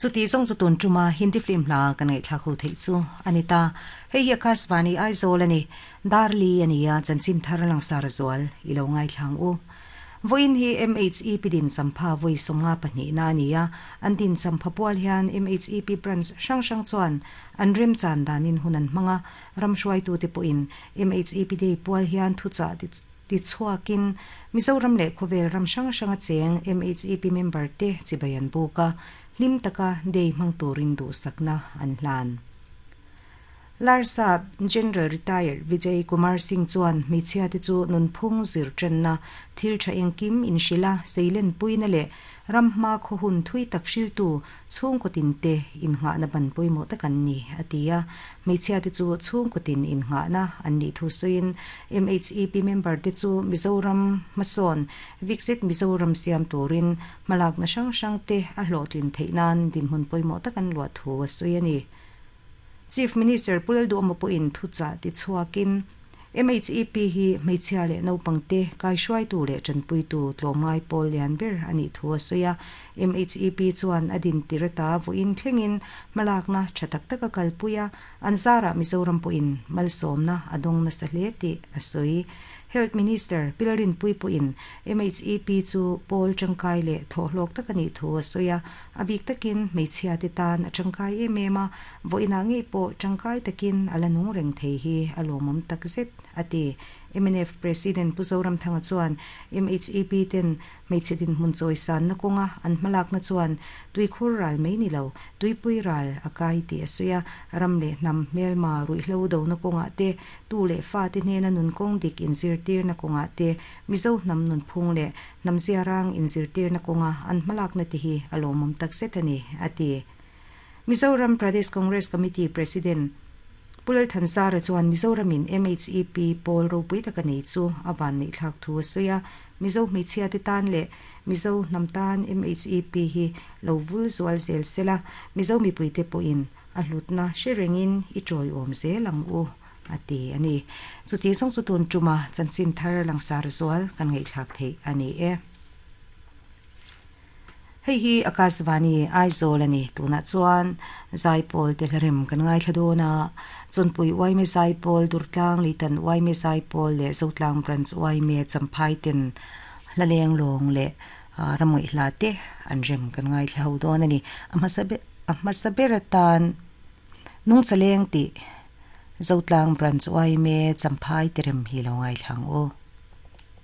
Chuti zawng chu tun tuma Hindi film hla kan ngaihthlak ho theih chu a ni ta. Hei hi Akashvani Aizawl a ni. Darli a ni a, chanchin thar langsar zual i lo ngaithlang u. Vawiin hi MHEP din champha vawi 52na a ni a, an din champha pual hian MHEP branch hrang hrang chuan an remchan danin hun an hmang a, ram hruaitute pawhin MHEP Day pual hian thuchah tichhuakin Mizoram leh khawvel ram hrang hranga cheng MHEP member te chibai an buk a, hlim taka day hmang turin duhsakna an hlan. Larsap General Retired Vijay Kumar Singh chuan hmeichhia te chu nunphung zir tanna, thil tha engkim inhrilh a, seilenpuina leh ram hma khaw hun thui tak hriltu chhungkaw tin te innghahna ban pawimawh tak an ni, a ti a. Hmeichhia te chu chhungkaw tin innghahna an nih thu sawiin MHEP member te chu Mizoram hmasawn Viksit Mizoram siam turin hmalakna hrang hrang te a hlawhtlin theih nan dinhmun pawimawh tak an luah thu a sawi a ni. Chief Minister Pu Lalduhawma pawhin thuchah tichhuakin, MHEP hi hmeichhia leh naupangte kaihruaitu leh tanpuitu tlawmngai pawl lian ber a nih thu a sawi a. MHEP chuan a din tir ata vawiin thlengin hmalakna tha tak tak a kalpui a, an zarah Mizoram pawhin malsawmna a dawng nasa hle tih a sawi. Health Minister Pi Lalrinpuii pawhin MHEP chu pawl tangkai leh thawhhlawk tak a nih thu a sawi a, a bik takin hmeichhia te tan a tangkai em em a, vawiinah ngei pawh tangkai takin a la nung reng thei hi a lawmawm tak zet, a ti. Mnf President Pu Zoramthanga chuan MHEP ten Hmeichhe dinhmun chawisanna kawnga an hmalakna chuan tuikhur ral mai ni lo, tuipui ral a kai tih a sawi a. Ram leh hnam hmelma ruihhlo dona kawngah te, tu leh fate hnena nun kawng dik inzirtirna kawngah te, Mizo hnam nunphung leh hnam ziarang inzirtirna kawnga an hmalakna te hi a lawmawm takzet a ni, a ti. Mizoram Pradesh Congress Committee President Pu Lalthansara chuan Mizoramin MHEP pawl ropui taka nei chu a vanneih thlak thu a sawi a, Mizo hmeichhia te tan leh Mizo hnam tan MHEP hi lo vul zual zel sela, Mizo mipuite pawhin a hlutna hre rengin i tawiawm zel ang u, a ti a ni. Chuti zawng chu tun tuma chanchin thar langsar zual kan ngaihthlak theih a ni e. Hei hi Akashvani Aizawl a ni. Tunah chuan Zaipawl te hlarem kan ngaithla dawn a, Chawnpui Uaime Zaipawl, Durtlang Leitan Uaime Zaipawl leh Zotlang Branch Uaime Champhai ten hla leng lawng leh ramngaih hla te an rem kan ngaithla ho dawn a ni. A hmasa ber a hmasa ber atan Nungchaleng tih Zotlang Branch Uaime Champhai te rem hi lo ngaithla ang u.